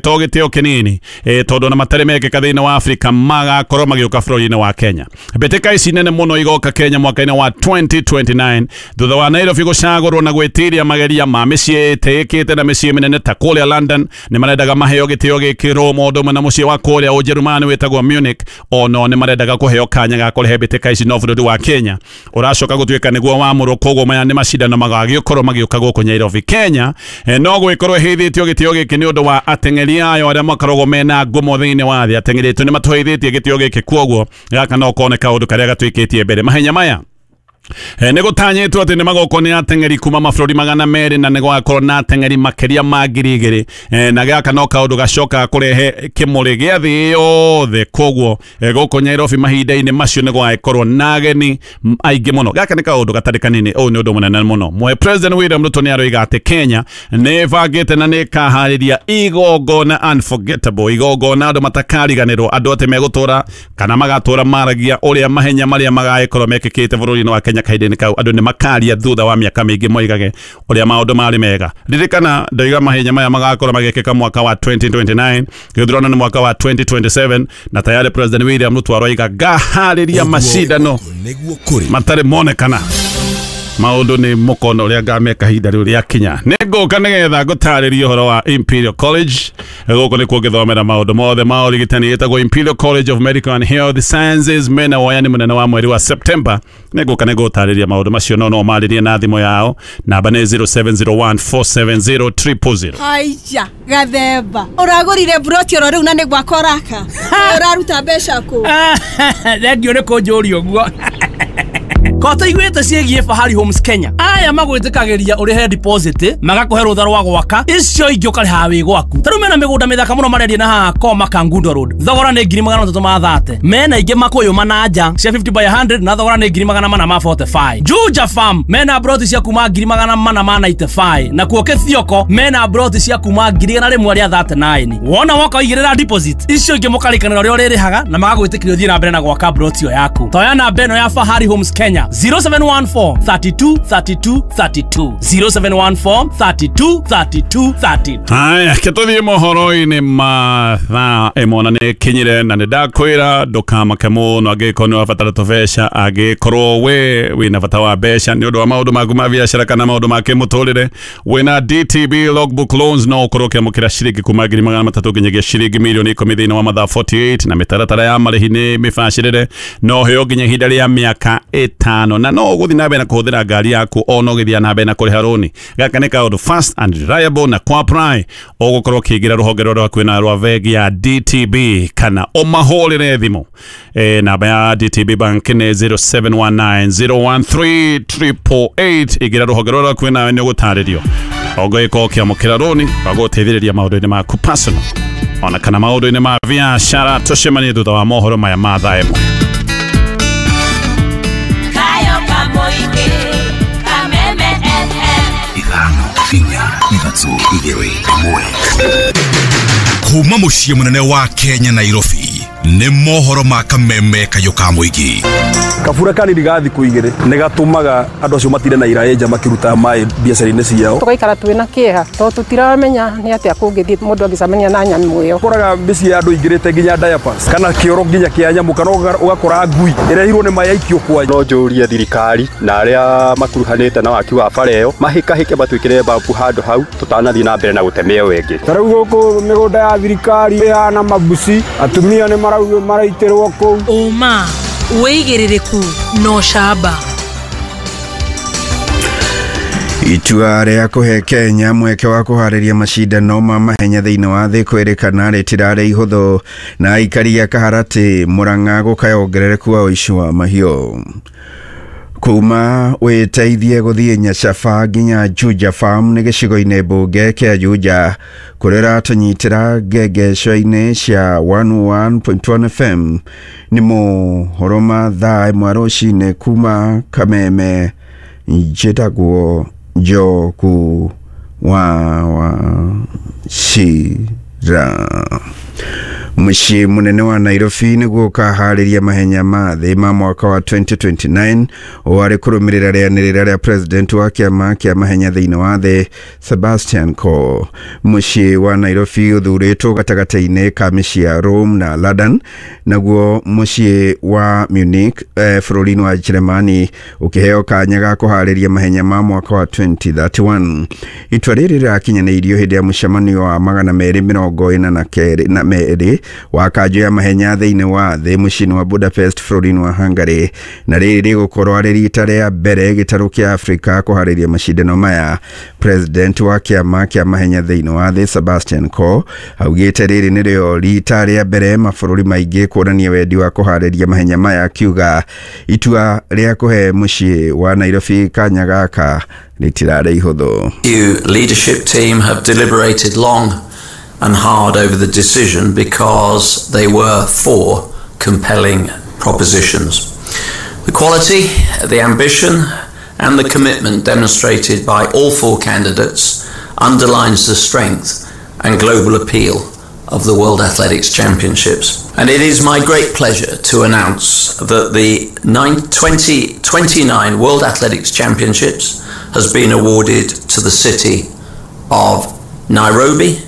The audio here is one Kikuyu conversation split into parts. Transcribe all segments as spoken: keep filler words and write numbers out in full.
To gĩtĩo kĩnini e, tondũ na matarĩ mekĩka thĩinĩ wa Afrika magakorwo magĩũka bũrũri-inĩ wa Kenya. Mbĩtĩka ici nene mũno igoka Kenya mwaka-inĩ wa twenty twenty-nine thutha wa Nairobi gũcagũrwo na gwĩtiria mageria ma mĩciĩ ĩtĩĩkĩte na mĩciĩ mĩnene ta kũrĩa London. Nĩ marendaga maheo gĩtĩo gĩkĩ Roma ũndũ ũmwe na mũciĩ wa kũrĩa Ũjerũmani wĩtagwo Munich. Ono nĩ marendaga kũheo kanya ga kũrehe mbĩtĩka ici no bũrũri wa Kenya ũracoka gũtuĩka nĩguo wamũrwo. Koguo maya nĩ macindano magagĩkorwo magĩũka gũkũ Nairobi Kenya. E, no gwĩkorwo ĩheithĩtio gĩtĩo gĩkĩ nĩ ũndũ wa ateng'eri ayo arĩa makoragwo mena ngumo thĩinĩ wa thĩ. Ateng'eri aitũ nĩ matũheithĩtie gĩtĩo gĩkĩ, koguo gaka no kone kaũndũ karĩa gatuĩkĩtie mbere. Mahenya maya E, nĩ gũtanyĩtwo atĩ nĩ magokwo nĩ ateng'eri kuma mabũrũri magana merĩ na nĩ gũgakorwo na ateng'eri makĩria ma ngiri igĩrĩ. E, na gaka no kaũndũ gacokaga kũrehe kĩmũrĩ gĩa thĩ yothe. Koguo e, gũkũ Nairobi mahinda-inĩ macio nĩ gũgagĩkorwo na ageni aingĩ mũno. Gaka nĩ kaũndũ gatarĩ kanini, ũyũ nĩ ũndũ mũnene mũno. Mwe President William Ruto nĩ aroiga atĩ Kenya nĩ ĩbangĩte na nĩ ĩkaharĩria igongona unforgettable, igongona andũ matakariganĩrwo, andũ atĩ megũtũra kana magatũra maragia ũrĩa mahenya marĩa magagĩkorwo mekĩkĩte bũrũri-inĩ wa Kenya kahinda-inĩ kau. Andũ nĩ makaria thutha wa mĩaka mĩingĩ moigage ũrĩa maũndũ marĩ mega. Ririkana ndoiga mahenya maya magakorwo magĩkĩka mwaka wa twenty twenty-nine, gĩthurano nĩ mwaka wa twenty twenty-seven, na tayari President William Ruto aroiga ngaharĩria macindano matarĩ monekana. Maũndũ nĩ mũkono ũrĩa ngameka ihinda rĩu rĩakinya. Nĩ ngũka nĩgetha ngũtarĩrie ũhoro wa Imperial College. Gũkũ nĩkuo ngĩthomera maũndũ mothe ma ũrigitani, ĩtagwo Imperial College of Medical and Health Sciences. Mena woyani mũnene wa mweri wa September. Nĩ ngũka nĩ ngũtarĩria maũndũ macio, no no marĩrie na thimũ yao. Namba nĩ zero seven zero one four seven zero triple zero. Haiya gathemba ũragũrire broti oro rĩu na nĩ gwakwa ũraka ũraruta mbeca kũ? Thengiũ nĩ kũnjũria ũguo. Kota iguĩte ciĩgiĩ Fahari Homes Kenya. Aya magwĩtĩkagĩria ũrĩhe deposit, magakũhe rũtha rwa gwaka, icio ingĩ ũkarĩha wĩ gwaku. Ta rĩu mena mĩgũnda mĩthaka mũno marendia na haha Koma Kangundo Road. Thogora nĩ ngiri magana matatũ ma thate. Mena ingĩ Makũyũ Mananja cia fifty by hundred na thogora nĩ ngiri magana mana ma forty-five. Juja Farm mena broti cia kuma ngiri magana mana ma ninety-five. Na kuo Kĩthioko mena broti cia kuma ngiri igana rĩmwe rĩa thirty-nine. Wona woka ũigĩrĩra deposit, icio ingĩ mũkarĩkanĩra ũrĩa ũrĩrĩhaga na magagwĩtĩkĩria ũthiĩ na mbere na gwaka broti ĩyo yaku. Toya namba ĩno ya Fahari Homes Kenya zero seven one four thirty-two thirty-two thirty-two zero seven one four thirty-two thirty-two thirty-two. Haya, ketũthiĩ mohoro-inĩ ma thaa ĩmwe na nĩ kinyire na nĩ ndakwĩra ndũkamake mũno angĩkorwo nĩ wabatara tũbeca, angĩkorwo we wĩna bata wa mbeca nĩ ũndũ wa maũndũ maku ma biacara kana maũndũ ma kĩmũtũrĩre. Wĩna D T B Logbook Loans no ũkorwo ũkĩamũkĩra ciringi kuma ngiri magana matatũ nginyagia ciringi mirioni ikũmi thĩinĩ wa mathaa forty-eight, na mĩtaratara ya marĩhi nĩ mĩbacĩrĩre, no ũheo nginya ihinda rĩa mĩaka ĩtano, na no ũgũthiĩ na mbere na kũhũthĩra ngari yaku ona ũgĩthiĩ na mbere na kũrĩha rũni. Gaka nĩ kaũndũ fast and reliable na kwa apply ũgũkorwo ũkĩingĩra rũhonge rũrĩa rwakuhĩ na rwa bengi ya D T B kana ũmahũrĩre thimũ. E, namba ya D T B Bank nĩ zero seven one nine zero one three triple eight. Ingĩra rũhonge rũrĩa rwakuhĩ nawe nĩ ũgũtarĩrio ũgĩkorwo ũkĩamũkĩra rũni rwa gũteithĩrĩria maũndũ-inĩ maku personal ona kana maũndũ-inĩ ma biacara. Tũcemanie thutha wa mohoro maya ma thaa ĩmwe. Ithano inya ithatũ igĩrĩ ĩmwe. Kuma mũciĩ mũnene wa Kenya Nairobi nĩ mohoro ma Kameme kayũ ka mũingĩ. Kabura kanini ga thikũ igĩrĩ nĩ gatũmaga andũ acio matinde na iraĩ nja makĩruta maĩ biacara-inĩ ciao. Tũgaikara twĩna kĩeha tondũ tũtiramenya nĩ atĩa kũngĩthiĩ mũndũ angĩcemania na nyamũ ĩyo. Ũkoraga mĩciĩ ya andũ ingĩrĩte nginya diapers kana kĩoro nginya kĩa nyamũ, kana ũgakora ngui ĩrehirwo nĩ maĩ aikio kwa. No njũrie thirikari na arĩa makuruhanĩte na waki wa bara ĩyo mahĩkahĩke matwĩkĩre babu handũ hau tũtanathiĩ na mbere na gũteme ĩyo ĩngĩ. Ta rĩu gũkũ mĩgũnda ya thirikari ĩhana mabuci, atumia nĩ maraitĩrwo kũu. Ũma wĩigĩrĩrĩku no camba. Itua rĩa kũhe Kenya mweke wa kũharĩria macindano ma mahenya thĩinĩ wa thĩ kwĩrĩkana rĩtirarĩ ihũthũ, na aikari a Kaharatĩ Murang'a gũkaya wongerereku wa ũici wa mahiũ. Kuma wĩteithie gũthiĩ Nyacaba nginya Juja Farm nĩ gĩcigo-inĩ mbunge kĩa Juja kũrĩa ũratũnyitĩra ngengeco-inĩ cia one one point one F M. Nĩ mohoro ma thaa ĩmwe rũcinĩ kuma Kameme. Njĩtagwo Njoku wa Wachira. Mũciĩ mũnene wa Nairobi nĩguo ũkaharĩria mahenya ma thĩ ma mwaka wa twenty twenty-nine ũũ arĩ kũrũmĩrĩra rĩanĩrĩra rĩa president wa kĩama kĩa mahenya thĩinĩ wa thĩ Sebastian Coe. Mũciĩ wa Nairobi ũthurĩtwo gatagatĩ-inĩ ka mĩciĩ ya Rome na London, naguo mũciĩ wa Munich eh, bũrũri-inĩ wa Jeremani ũkĩheo kanya ga kũharĩria mahenya ma mwaka wa twenty thirty-one. Itua rĩrĩ rĩrakinyanĩirio hĩndĩ ya mũcemanio wa magana merĩ mĩrongo ĩna na kerĩ na merĩ wa kanjũ ya mahenya thĩinĩ wa thĩ mũciĩ-inĩ wa Budapest bũrũri-inĩ wa Hungary, na rĩrĩ rĩgũkorwo arĩ rita rĩa mbere gĩtarũ kĩa Afrika kũharĩria macindano maya. President wa kĩama kĩa mahenya thĩinĩ wa thĩ Sebastian Coe augĩte rĩrĩ nĩrĩo rita rĩa mbere mabũrũri maingĩ kuonania wendi wa kũharĩria mahenya maya, akiuga itua rĩa kũhe mũciĩ wa Nairobi kanya gaka rĩtirarĩ ihũthũ. You leadership team have deliberated long and hard over the decision because they were four compelling propositions. The quality, the ambition and the commitment demonstrated by all four candidates underlines the strength and global appeal of the World Athletics Championships. And it is my great pleasure to announce that the twenty twenty-nine World Athletics Championships has been awarded to the city of Nairobi.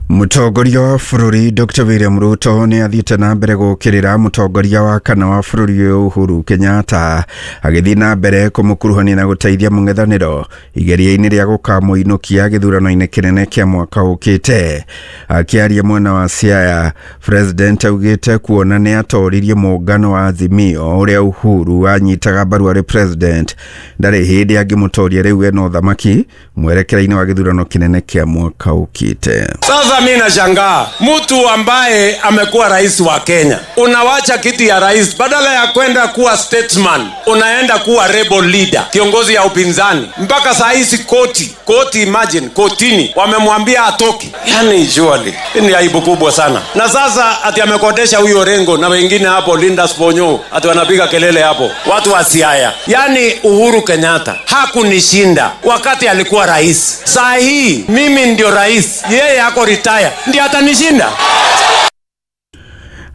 Mũtongoria wa bũrũri Doctor William Ruto nĩ athiĩte na mbere gũkĩrĩra mũtongoria wa kana wa bũrũri ũyũ Uhuru Kenyatta, agĩthiĩ na mbere kũmũkuruhania na gũteithia mũng'ethanĩro igeria-inĩ rĩa gũkamũinũkia gĩthurano-inĩ kĩnene kĩa mwaka ũkĩte. Akĩaria mwena wa Siaya, President augĩte kuona nĩ atoririe mũngano wa Azimio ũrĩa Uhuru anyitaga mbaru arĩ president, ndarĩ hĩndĩ angĩmũtoria rĩu ena ũthamaki mwerekera-inĩ wa gĩthurano kĩnene kĩa mwaka ũkĩte. Sasa mimi nashangaa mtu ambaye amekuwa rais wa Kenya, unawacha kiti ya rais, badala ya kwenda kuwa statesman unaenda kuwa rebel leader, kiongozi ya upinzani. Mpaka saa hizi koti, koti imagine, kotini wamemwambia atoke. Yani surely ni aibu kubwa sana. Na sasa ati amekodesha huyo Orengo na wengine hapo, Linda Sponyo, ati wanapiga kelele hapo, watu wa Siaya. Yani Uhuru Kenyatta hakunishinda wakati alikuwa rais. Saa hii mimi ndio rais, yeye ako retire, ndiye atanishinda.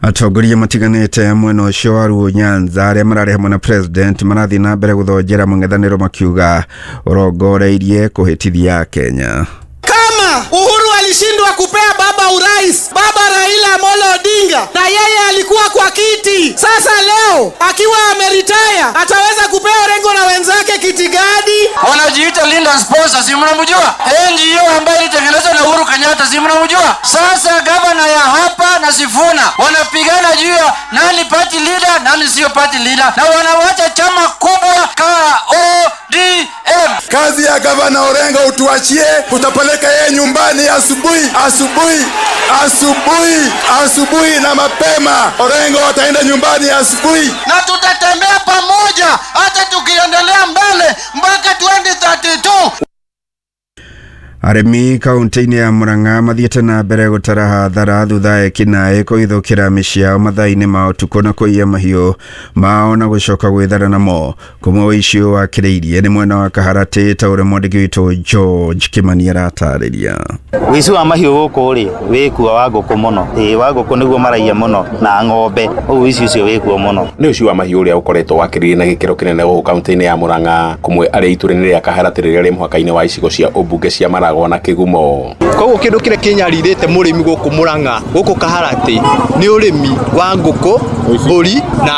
Atongoria matiganĩte mwena ũcio wa Luo Nyanza arĩa mararĩ hamwe na president marathiĩ na mbere gũthonjera mũng'ethanĩro makiuga ũrongoreirie kũhĩtithia Kenya. Kama Uhuru alishindwa kupea baba urais, baba Raila Amolo Odinga, na yeye alikuwa kwa kiti, sasa leo akiwa ameritaya ataweza kupea Orengo na wenzake kiti gani? Wanajiita Linda Sponsor, si mnamjua? N G O ambayo ilitengenezwa na Uhuru Kenyatta, si mnamjua? Sasa gavana ya hapa na Sifuna wanapigana juu ya nani party leader, nani sio party leader, na wanawacha chama kubwa K O D M. Kazi ya gavana Orengo utuachie, utapeleka yeye nyumbani asubuhi, asubuhi, asubuhi, asubuhi na mapema. Orengo ataenda nyumbani asubuhi. Na tutatembea pamoja hata tukiendelea mbele mpaka twenty thirty-two. Arĩmi kaunti-inĩ ya Murang'a mathiĩte na mbere gũtara hathara thutha ekinaĩ kũhithũkĩra mĩciĩ yao mathaa-inĩ ma ũtukũ na kũiya mahiũ mao na gũcoka gwĩthara namo. Kũmwe ũici ũyũ wakĩrĩirie nĩ mwena wa Kaharatĩ ta ũrĩa mwandĩki witũ George Kimani aratarĩria. Ũici wa mahiũ gũkũ rĩ wĩkuo wa ngũkũ mũno, ĩĩ wa ngũkũ nĩguo maraiya mũno na ng'ombe, ũguo ũici ũcio wĩkuo mũno. Nĩ ũici wa mahiũ ũrĩa ũkoretwo wakĩrĩirie na gĩkĩro kĩnene gũkũ kaunti-inĩ ya Murang'a, kũmwe arĩ itũũra-inĩ rĩa Kaharatĩ rĩrĩa rĩ mũhaka-inĩ wa icigo cia ũmbunge cia Maragwa na Kĩgumo. Koguo kĩndũ kĩrĩa kĩnyarirĩte mũrĩmi gũkũ Murang'a, gũkũ Kaharatĩ nĩ ũrĩmi wa ngũkũ, mbũri na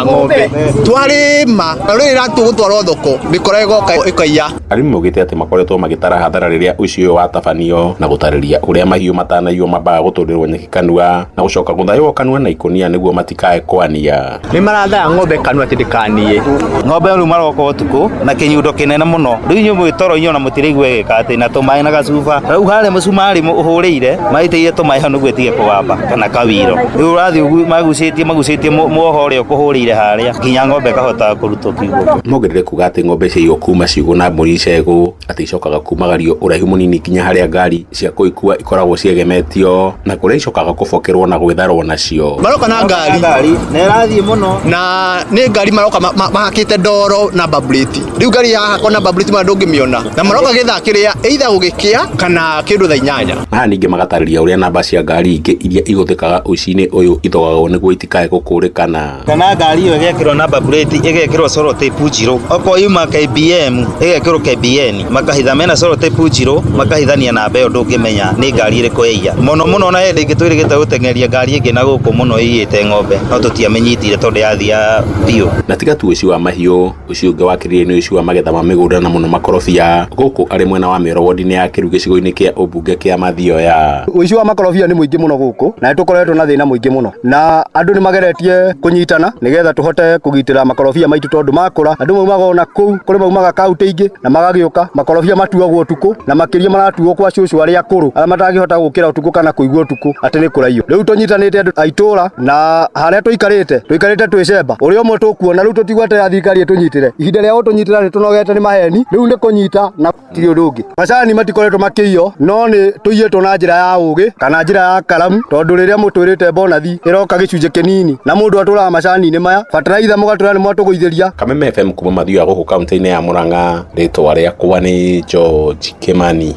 ng'ombe. Twarĩma na rĩrĩa tũgũtwarwo thoko mĩkora ĩgoka ĩkaiya. Arĩmi maugĩte atĩ makoretwo magĩtara hathara rĩrĩa ũici ũyũ watabanio na gũtarĩria ũrĩa mahiũ matanaiywo mambaga gũtũrĩrwo nyeki kanua na gũcoka gũthaywo kanua na ikũnia nĩguo matikae kwania. Nĩ marathaya ng'ombe kanua atĩ ndĩkanie. Ng'ombe rĩu maroka ũtukũ na kĩnyundo kĩnene mũno, rĩu inyuĩ mwĩ toro inyuĩ ona mũtiraigua ĩgĩka atĩ na tũmaĩ na gacuba. Rĩu harĩa mũcumarĩ ũhũrĩire maitĩire tũmaĩ hau nĩguo ĩtige kũgamba kana kawiro. Rĩu ũrathiĩ magucĩtie magucĩtie muoho ũrĩa ũkũhũrĩire harĩa nginya ng'ombe ĩkahota kũrutwo kiugũ. Mongerere kuga atĩ ng'ombe ciaiywo kuma ciugũ na mbũri icegũ atĩ icokaga kumagario ũraihu mũnini nginya harĩa ngari cia kũikua ikoragwo ciegemetio na kũrĩa icokaga kũbokerwo na gwĩtharwo nacio. Maroka na ngari na ĩrathiĩ mũno na nĩ ngari maroka mahakĩte ndoro na baburĩti. Rĩu ngari yahakwo na baburĩti ma ndũngĩmĩona na maroka gĩthaa kĩrĩa either Gũgĩkĩa kana kĩndũ thaa inyanya. Haha ningĩ magatarĩria ũrĩa namba cia ngari ingĩ iria ihũthĩkaga ũici-inĩ ũyũ ithogagwo nĩguo itikae gũkũrĩkana. Kana ngari ĩyo ĩgekĩrwo namba plate, ĩgekĩrwo sellotape njirũ, okorwo yuma K B M ĩgekĩrwo K B N, makahitha mena sellotape njirũ, makahithania namba ĩyo ndũngĩmenya nĩ ngari ĩrĩkũ yaiya. Mũno mũno na hĩndĩ ĩngĩ twĩrĩgĩte gũteng'eria ngari ĩngĩ na gũkũ mũno ĩiyĩte ng'ombe, no tũtiamenyitire tondũ yathia biũ. Na tiga tu ũici wa mahiũ, ũici ũngĩ wakĩrĩire nĩ ũici wa magetha ma mĩgũnda na mũno makorobia gũkũ arĩ mwena wa Mĩoro wodi-inĩ ya Kĩru gĩcigo-inĩ kĩa ũmbunge kĩa Mathioya. Ũici wa makorobia nĩ mũingĩ mũno gũkũ na nĩ tũkoretwo na thĩna mũingĩ mũno, na andũ nĩ mageretie kũnyitana nĩgetha tũhote kũgitĩra makorobia maitũ tondũ makũra andũ maumaga ona kũu kũrĩ maumaga kaunti ingĩ na magagĩũka. Makorobia matuagwo ũtukũ na makĩria maratuo kwa cũcũ arĩa akũrũ arĩa matangĩhota gũkĩra ũtukũ kana kũigua ũtukũ atĩ nĩ kũraiywo. Rĩu tũnyitanĩte andũ a itũũra na harĩa tũikarĩte tũikarĩte twĩcemba ũrĩa ũmwe tũkuona rĩu tũtigweterera thirikari ĩtũnyitĩre. Ihinda rĩa gũtũnyitĩra nĩ tũnogete nĩ maheni, rĩu nĩ kũnyita na tiri ũndũ ũngĩ. Macani matikoretwo makĩiywo no nĩ tũiyĩtwo na njĩra ya ũgĩ kana njĩra ya karamu, tondũ rĩrĩa mũtwĩrĩte bonathi ĩroka gĩcunjĩ kĩnini na mũndũ atũraga macani-inĩ maya bataraitha mũgatũra nĩ mwatũgũithĩria. Kameme F M kuma Mathioya gũkũ kaunti-inĩ ya Murang'a, rĩtwa rĩakwa nĩ George Kimani.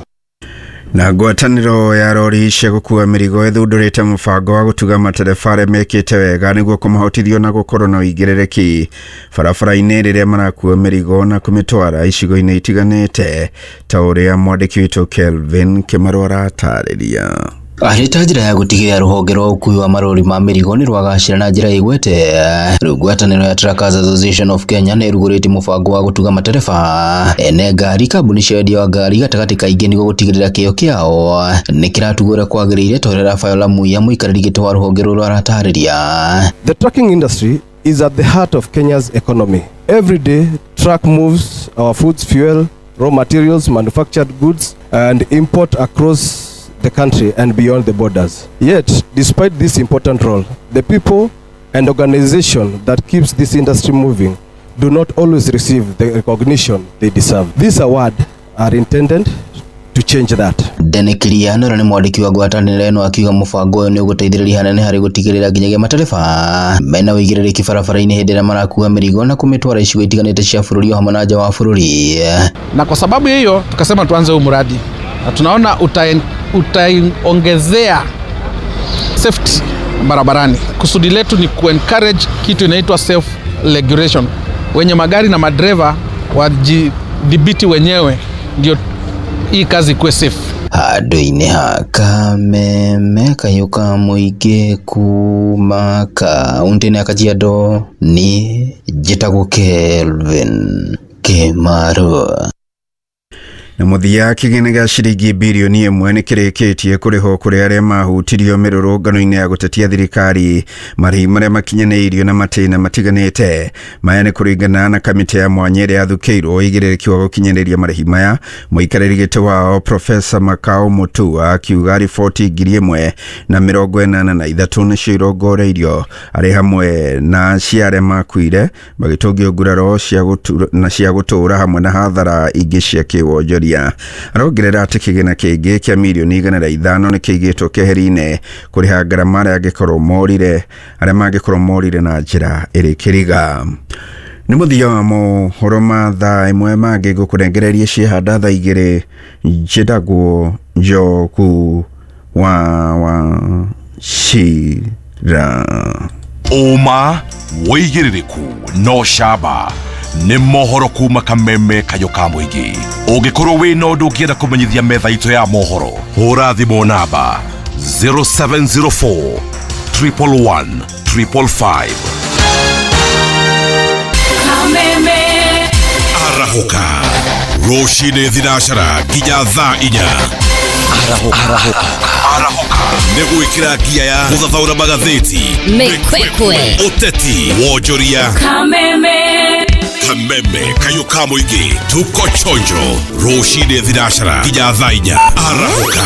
Na ngwatanĩro ya rori cia gũkua mĩrigo ĩthundũrĩte mũbango wa gũtuga matereba arĩa mekĩte wega nĩguo kũmahotithio na gũkorwo na ũigĩrĩrĩki barabara-inĩ rĩrĩa marakua mĩrigo na kũmĩtwara icigo-inĩ itiganĩte ta ũrĩa mwandĩki witũ Kelvin Kĩmarũ aratarĩria. Arĩ ta njĩra ya gũtigĩrĩra rũhonge rwa ũkui wa marori ma mĩrigo nĩ rwagacĩra na njĩra ĩgwete, rĩu ngwatanĩro ya Truckers Association of Kenya nĩ ĩrugũrĩtie mũbango wa gũtuga matereba ene ngari, kambuni cia wendia wa ngari gatagatĩ kaingĩ nĩguo gũtigĩrĩra kĩo kĩao nĩ kĩratugwo ũrĩa kwagĩrĩire ta ũrĩa Rafael Muiya mũikarĩri gĩtĩ wa rũhonge rũrũ aratarĩria. The trucking industry is at the heart of Kenya's economy. Every day, truck moves our foods, fuel, raw materials, manufactured goods, and import across the country and beyond the borders. Yet, despite this important role, the people and organization that keeps this industry moving do not always receive the recognition they deserve. This award are intended to change that. Dene Kiriano nĩ mwandĩki wa ngwatanĩro ĩno akiuga mũbango ũyũ nĩ ũgũteithĩrĩria hanene harĩ gũtigĩrĩra nginyagia matereba mena ũigĩrĩrĩki barabara-inĩ hĩndĩ ĩrĩa marakua mĩrigo na kũmĩtwara icigo itiganĩte cia bũrũri o hamwe na nja wa bũrũri. Na kwa sababu hiyo tukasema tuanze huu mradi na tunaona utaongezea safety barabarani. Kusudi letu ni kuencourage kitu inaitwa self regulation. Wenye magari na madereva wajidhibiti wenyewe ndio hii kazi ikuwe safe. Handũ-inĩ ha Kameme kayũ ka mũingĩ kuma kaunti-inĩ ya Kajiado ni njĩtagwo Kelvin Kĩmarũ. Na mũthia kĩgĩna gĩa ciringi birioni ĩmwe nĩ kĩrĩkĩtie kũrĩhwo kũrĩ arĩa mahutirio mĩrũrũngano-inĩ ya gũtetia thirikari marĩhi marĩa makinyanĩirio na matĩna matiganĩte. Maya nĩ kũringana na kamĩtĩ ya mwanya ĩrĩa yathukĩirwo ũigĩrĩrĩki wa gũkinyanĩria marĩhi maya. Mũikarĩri gĩtĩ wao Profesa Makau Mutua akiuga riboti ngiri ĩmwe na mĩrongo ĩnana na ithatũ nĩcio irongoreirio arĩ hamwe na cia arĩa makuire magĩtũngio nguraro cia na cia gũtũũra hamwe na hathara ingĩ cia kĩwonjoria. Arongerera atĩ kĩgĩna kĩngĩ kĩa mirioni igana rĩa ithano nĩ kĩigĩtwo keheri-inĩ kũrĩha ngarama arĩa angĩkorwo morire arĩa mangĩkorwo morire na njĩra ĩrĩ kĩriga. Nĩ mũthia wa mohoro ma thaa ĩmwe mangĩ ngũkũrengereria ciehanda thaa igĩrĩ. Njĩtagwo Njoku wa wa Cira. Ũma wĩigĩrĩrĩku no camba nĩ mohoro kuma Kameme kayũ ka mũingĩ. Ũngĩkorwo wĩna ũndũ ũngĩenda kũmenyithia metha itũ ya mohoro, hũra thimũ namba zero seven zero four triple one triple five. Kameme arahũka rũcinĩ thinacara nginya thaa inya. Arahũka arahũka nĩ gwĩkĩra ngia ya gũthathaũra magathĩti, mĩkwekwe, ũteti, wonjoria. Kameme Kameme kayũ ka mũingĩ tuko chonjo rũcinĩ thinacara nginya thaa inya. Arahũka.